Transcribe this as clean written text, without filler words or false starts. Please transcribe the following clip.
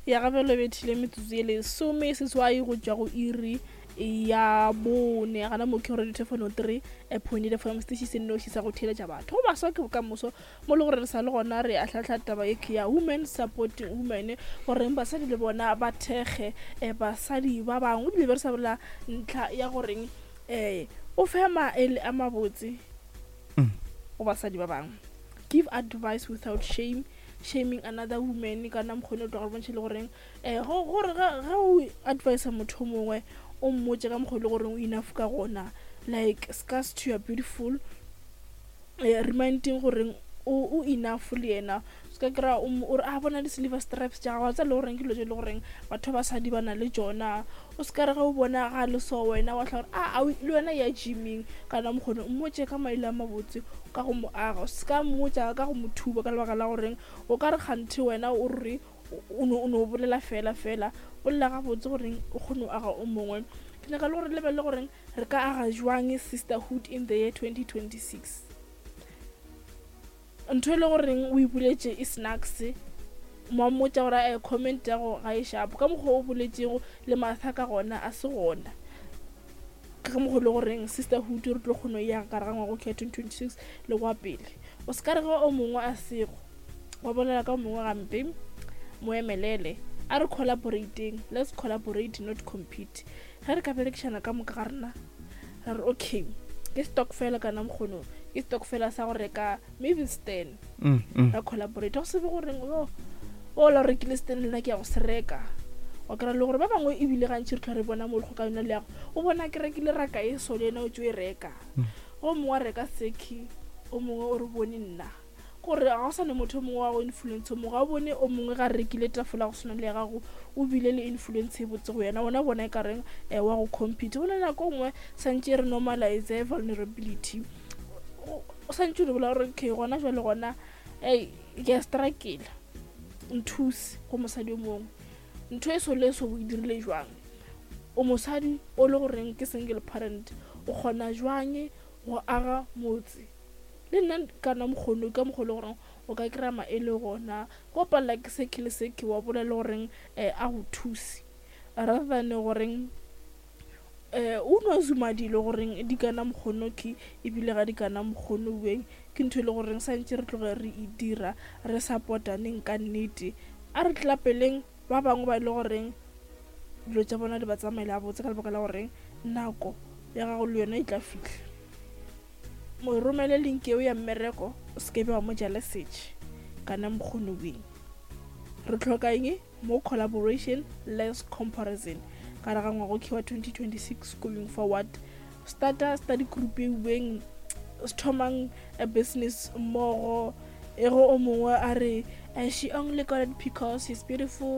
Ya gabelo bethile metsotso ye lesome seswai go tšwa go iri ya bone gana mo ke radio telefono 3 point fm station se nnoši sa go theeletša batho go baswa ke bokamoso mo le gore re sa le gona re ahlahla taba e ke ya women supporting women goreng basadi le bona ba thekge eh, basadi ba bangwe ebile be re sa bolela ntlha ya goreng um o fe maele a mabotse go basadi ba bangwe. Give advice without shame, shaming another woman kana mokgone o tloga re bontšhe le goreng um gore ge o advisa motho o mongwe o mmotse ka mokgwa e le goreng o enough ka gona, like scars to your beautiful, reminding goreng o enough le yena. Se ka kry-a o re a bona di-silver stripes tša gago tsa le goreng ke dilo tse e le goreng batho ba basadi ba na le tšona. O se ka re ge o bona ga le so wena wa tla gore a le wena ya gyming kana mokgone. O mmotse ka maele a mabotse ka go mo aga, o se ka mmotsa ka go mo thuba ka lebaka la goreng o ka re kganthe wena o re o no bolela fela fela. Bolela gabotse goreng o kgone go aga o mongwe. Ke nyaka le gore lebelele goreng re ka aga jwang sisterhood in the year 2026. Ntho e le goreng o ipoletše e snacks mo mmotša gore a comment ya go ga e shapo ka mokgwa o boletšego le matha ka gona a se gona ka mokgwa le goreng sisterhood re tlo kgone ya ka ga ngwago ke 2026 le kwa pele. O se ka re ge o mongwe a sego wa bolela ka o mongwe gampe, mo emelele. A re collaborateng, let's collaborate, not compete. Ge re ka berekišana ka moka ga rena ra re okay, ke stock fela kana mokgono ke stock fela sa go reka maybe stand, ra collaborate go se be goreng o o la rekile stand, le nna ke ya go se reka. Wa kry-a le gore ba bangwe ebile gantši re tlhwa re bona mo ka yona le yago o bona ke rekile raka e so le ena o tso e reka. Go mongwe wa reka seki, o mongwe o re bone nna gore ga go sane motho o mongwe wa go influence o mongwe. Ga o bone o mongwe ga rekile tafola go swana le ya gago, o bile le influence e botse go yena, wena bona e ka reng wa go compete. Go na nako nngwe santše re normalize vulnerability, o santše re bolela gore okay, gona jwale gona ei ke a strakela nthuse go mosadi o mongwe ntho e so le so o e dirile jwang. O mosadi o le goreng ke single parent, o kgona jwang go aga motse le nna kana mokgono ka mokgwa le goreng o ka kry-a maele gona go palela ke seke le seke wa bolela goreng a go thuse rather than goreng o no zuma dilo goreng di kana mokgono ke ebile ga di kana mokgono weng. Ke ntho e le goreng santše re tloge re e dira, re supportaneng ka nnete. A re tlapeleng ba bangwe ba e le goreng dilo tša bona di ba tsamaela botse ka lebaka la goreng nako ya gago le yona e tla fitlha. Mo romele link eo ya mmereko, o se ke be wa mo ja lesetše kana mokgono weng. Re tlhoka eng? More collaboration, less comparison ka re ga ngwago ke wa 2026 going forward. Starta study group e weng, thomang a business mmogo. E go o mongwe a re, "She only got it because she's beautiful."